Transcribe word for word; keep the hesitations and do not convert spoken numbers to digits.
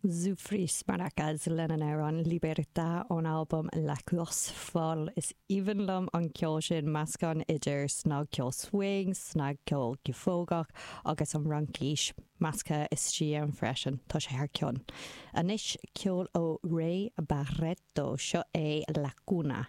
Zufris Maracas lena n-amhrán Libertà ón albam La Course Folle is aoibhinn liom an ceol sin meascán idir snagcheol swing, snagcheol giofógach agus an Fhraincis measctha istigh ann freisin tá sé thar cionn. Anois ceol ó Ray Barretto seo é La Cuna.